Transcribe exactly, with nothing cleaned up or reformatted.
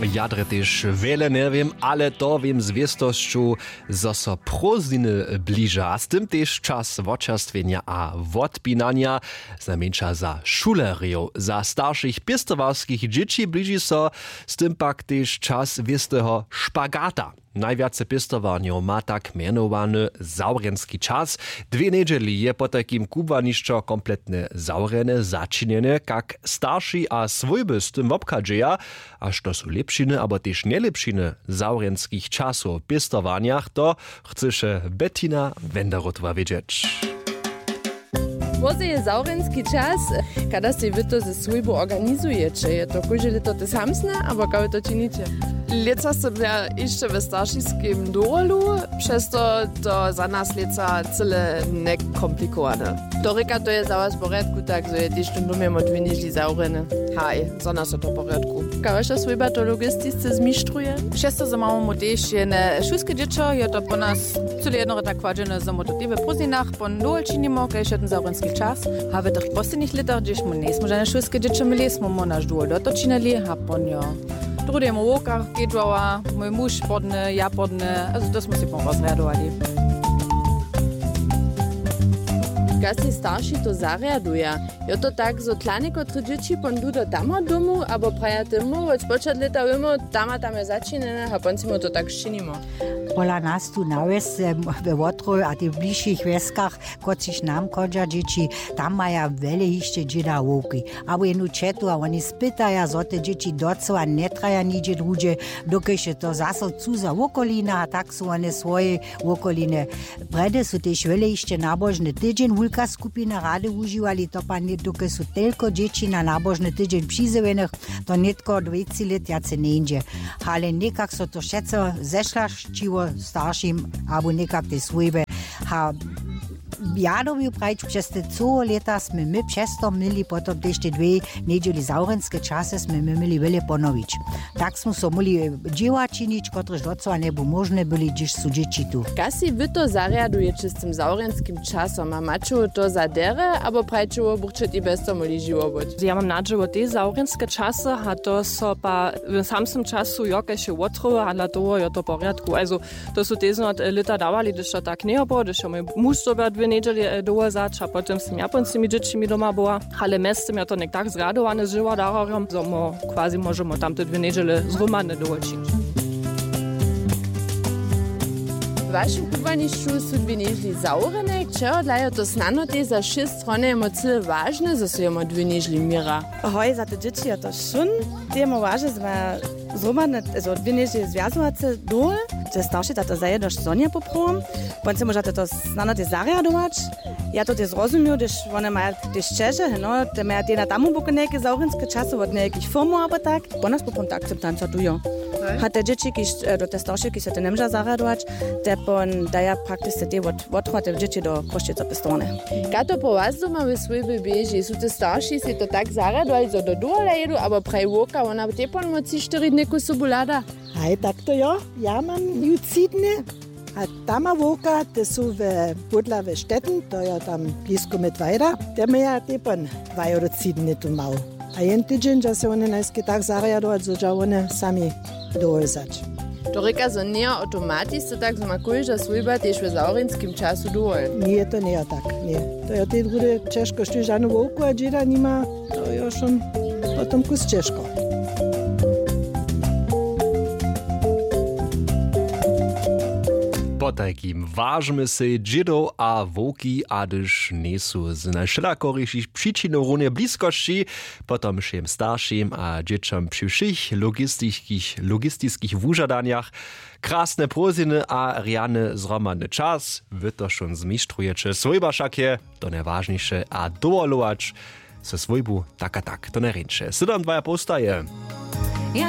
Ja drje tež wjele njewěm, ale to wěm z wěstosću, zo so prózdniny bliža a z tym tež čas wočerstwjenja a wotpinanja, znajmjeńša za šulerjow, za staršich pěstowarskich dźěći bliži so, z tym pak tež čas wěsteho špagata. Najwjace pěstowarnjow ma tak mjenowany zawrjenski čas. Dwě njedźeli je potajkim kubłanišćo kompletnje zawrjene, začinjene, kak starši a swójby z tym wobchadźeja, a što su lěpšiny abo tež njelěpšiny zawrjenskich časow w pěstowarnjach, to chcyše Bettina Wenderotowa wědźeć. Móze je zawrjenski čas. Kada sej wy to ze swójbu organizujeće? Je to kóžde lěto te samsne abo kaž wy to činiće? Lětsa sym ja hišće w staršiskim dowolu, přez to to za nas lětsa cyle njekomplikowane. To rěka, to je za was w porjadku, tak zo je tež tón dom jemo dwě njedźeli zawrjeny? Haj, za nas je to w porjadku. Kaž waša swójba to logistisce zmištruje? Přez to zo mamy tež jene šulske dźěćo, je to po nas cyle jednore tak kładźene, zo my to tež w prózdninach pon dowol činimo, kaž je ten zawrjenski čas. A w tych poslednich lětach, hdźež my njejsmy žane šulske dźěćo měli, smy my naš dowol dotočinili a pon jo, druhdy je mój wowka kedźowała, mój muž podny, ja podny, a to smy sej pon rozrjadowali. Kaž sej starši to zarjaduja? Jo, to tak zo tla někotre dźěći pon du do tamo domu abo praja ty mu wot spočat lěta wěmo, tam a tam je začinjene a pon sej mu to tak sčinimo. Pola nas tu na wjesce, we wotrowje a tych bližšich wjeskach, kotřiž nam chodźa dźěći, tam maja wjele hišće dźěda a wowki abo jenu ćetu a woni spytaja, zo te dźěći docyła njetraja nihdźe druhdźe, dokelž je to zaso cuza wokolina a tak su wone swojej wokolinje. Prjedy su tež wjele hišće nabožny tydźeń wulka skupina rady wužiwali, to pak nětko su telko dźěći na nabožny tydźeń přizjewenych, to nětko dwejci lět wjace njeńdźe. Ale někak so to wšetco zešlašćiło staršim abo někak tej swójbje. A ja dyrbju prajić, přez te cyłe lěta smy my přez to měli potom tež te dwě njedźeli zawrjenske časy smy my měli wjele ponowić. Tak smy so móhli dźěła činić, kotrež docyła njebu móžne byli, hdyž su dźěći tu. Kaž sej wy to zarjadujeće z tym zawrjenskim časom a maće to za derje abo prajiće wobuchće tež bjez to móhli žiwo być? Ja mam nadźěło tež zawrjenske časy a to so pa w samsnym času jo kaž je wotrowy a dla toho jo to w porjadku, also to su tež znot lěta dawali, hdyž to tak njeje było, hdyž jo mój muž dyrbjał dwě njedźeli dowol wzać a potom sym ja pon z tymi dźěćimi doma była. Ale mjeztym jo to něk tak zrjadowane z žiwodararjom, zo my quasi móžemy tamte dwě njedźele zhromadnje dowol činić. W wašim kubłanišću su dwě njedźeli zawrjene, čehodla je to snano tež za wšě strony jemo cyle wažne, zo su jemo dwě njedźeli měra? Hoj, za te dźěći je to wšón. Tež jemo wažne, zo maja zhromadnje, zo dwě njedźeli zwjazowace dowol. Te starši za to zajedno sonja poprawom, wón sej móža to snano tež zarjadować. Ja to tež zrozumiju, hdyž wone maja tež ćeže, no, te maja tež na tamu boku nějaké zawrjenske časy wot nějakich firmow abo tak. Pon nas poprawom ta akceptanca tu jo. A te dźěći, kiž do te staršej, kiž so to njemóža zarjadować, te pon daja praktiske tež wot wotrowate dźěći do Chrósćic do pěstowarnje. Kaž to po was doma we swójbje běži? Su te starši sej to tak zarjadowali, zo do dowola jědu, abo praji wowka, wona tež pon mó tři štyri dnjejku sobu hlada? Haj, tak to jo, ja mam ju tři dny. A tam ma wowka, te su we pódla we Štetyn, to jo tam blisko Mittweida, te maja tež pon dwa jo do tři dny tu mał. A jen tydźeń dźa sej wone najskej tak zarjadować, zo dźa wone sami dowol wzać. To rěka, zo njeje awtomatiske, tak zo ma kóžda swójba tež w zawrjenskim času dowol. Ně, to njeje tak, ně. To jo tej druhdy ćežko, štóž žanu wowku a dźěda nima, to jo wšón potom kus ćežko. Potajkim wažmy sej dźědow a wowki, a hdyž njejsu z najwšelakorišich přičinow runje bliskosći, potom wšěm staršim a dźěćom při wšěch logistiskich, logistiskich wužadanjach krasne prózdniny a rjany zhromadny čas. Wy to wšón zmištrujecie, swójba wšak je to najwažniše a dowolować so swójbu tak a tak to najrjeńše. Sydom dwaja połstaje.